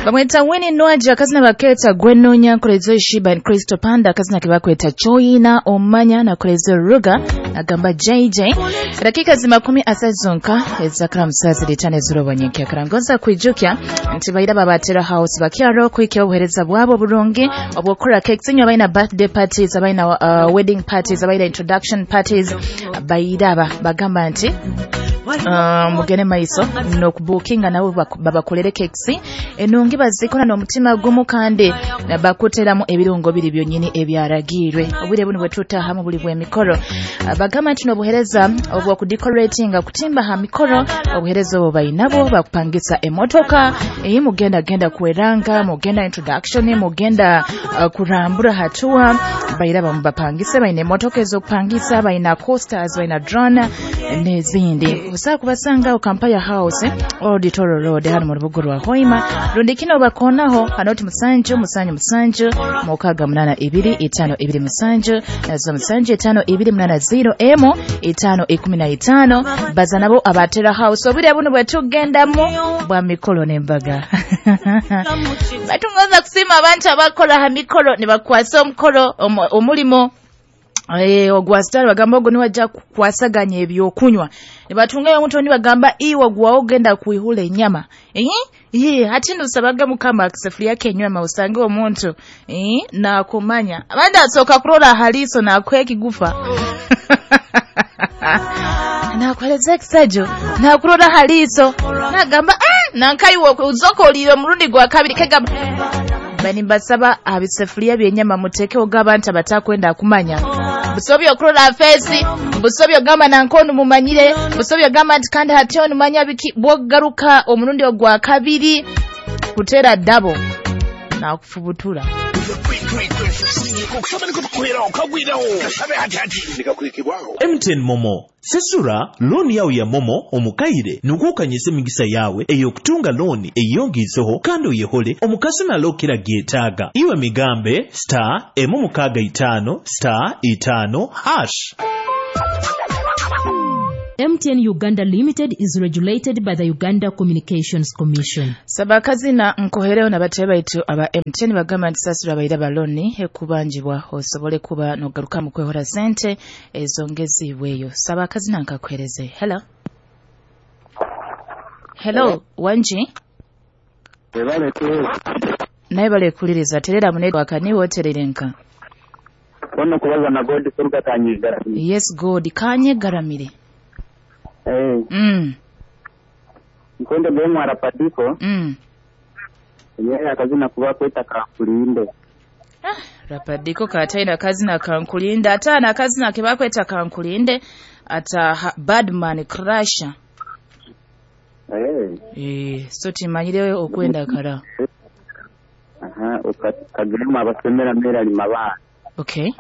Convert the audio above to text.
Bamweta Winnie Nwagi, akazina bakeeta Gwenonya, nkolezo Shiba and Crystal Panda, akazina ke bakweta Choina Omanya, nakolezo Ruga agamba JJ. Dakika zi 30 zonka ezakara musazi litane zurobo nyenke karangoza kwijukya nti baira babatera house bakyaro kwikya obuhereza bwabo burungi obwokora cakes inyo abaina birthday parties, abaina wedding parties, abaina introduction parties. Bairaba bagamba nti mugende maiso n'okubukinga nabo babakolere cakes enungi bazikora n'omutima gumu kandi bakuteramu ebirungo biri byonyini ebyaragirwe. Obwire buno bwetutahamu buli bw'emikoro. Bagamba nti n'obuhereza obw'okudecoratinga kutimba ha mikoro, obuhereza obwo bainabo bakupangisa emotoka eyi mugenda genda kweranga, mugenda introduction, mugenda kurambura hatua. Bairaba mubapangise, baina emotoka ez'okupangisa, baina coasters, baina drone n'ezindi. Osobola kubasanga Kampala House, Old Toro Road, hano mu rubuga rwa Hoima. Rundi kino bakonaho hanoti 7 7 7 6 8 2 5 2 7 nazo 7 5 2 8 0 M 5 15. Baza nabo abatera house. Obwire buno bwetugendamu bwa mikolo n'embaga. Batungoza kusima abantu abakola ha mikolo ne bakwasa omukolo omulimo ogwa star bagamba ogwo niwajja kukwasaganya ebyokunywa. Ne batungayo omuntu oni bagamba iwe gwa ogenda kuihula ennyama. Ati ndusabaga Mukama akisefuria kenyama usange omuntu nakumanya. Abandi asoka kurola haliso nakwekigufa. Nakueleza kisajo nakurola haliso nagamba nankaiwe uzokolire omurundi gwa kabiri kegamba bani basaba abisefuria byenyama muteke ogaba nti abatakwenda kumanya. Busobyo okurola fesi, busobyo gamba nankono mumanyire, busobyo gamba nti kandi hatyo numanya biki bwogaruka omurundi ogwa kabiri kutera dabo na kufubutura. MTN Momo sesura looni yawe ya Momo omukaire nukukanyisa emigisa yawe ey'okutunga looni eyongiiseho kandi oyehole omukasi nalokera gyetaaga. Iwe migambe star 6 5 star 5 hash. MTN Uganda Limited is regulated by the Uganda Communications Commission. Sabakazina nkohereo na batebe baitu aba MTN bagamba nti sasura baira baloni ekubanjibwa osobole kuba nogaruka mu kwehora sente ezongezibweyo. Sabakazina nkakuhereze. Hello. Hello, wanji? Naye bale kuliriza terera mu network ni woterere nka. Kono kubaza na God kuruga Kanyegaramire. Yes, God Kanyegaramire. Nkwenda bwe mwara padiko. Yeye akazina kuba kweta kankulinde. Rapadiko kataina kazina kankulinde, ata na kazina ke bakweta kankulinde ata badman crasher. So timanyire okwenda kara. Aha, ukagema abasemera mera limaba. Okay.